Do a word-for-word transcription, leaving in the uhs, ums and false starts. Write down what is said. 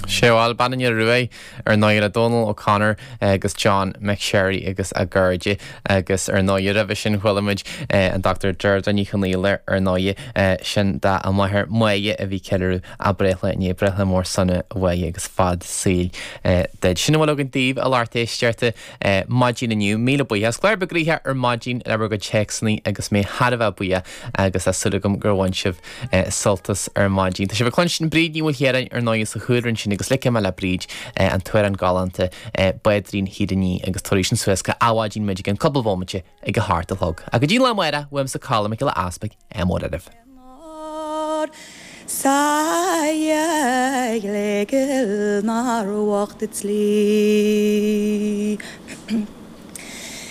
Sé bhuel Bean an Iora Ruaidh ar ndóigh le Donal O'Connor agus John McSherry agus a gcairde agus ar ndóigh roimhe sin chuala muid an Dr. Deirdre Ní Chonaola ar ndóigh sin dá a máthair Máire a bhí ceiliúradh a breithlá inné breithlá mór sona a Mháire agus fad saoil duit. Sin a bhfuil againn daoibh a lucht éisteachta maidin inniu míle buíochas. Clár beag gnoitheach ar maidin le bhur gcuid téacsanna agus mé thar a bheith buíoch agus tá súil agam gur bhain sibh sult as ar maidin. Tá sibh ag cluinstin Bríd Ní Mhaoilchiaráin ar ndóigh sa chúlra ansin agus ligfidh mé le Bríd an t-amhrán galánta Báidrín Thír an Fhia agus tabharfaidh sin suas go Adhmhaidin muid i gceann cúpla bomaite ag a hocht a chlog. Ach go dtí an lá amárach uaimse Colm Mac Giolla Easpaig ádh mór oraibh. Sa le mar bhocht tslí.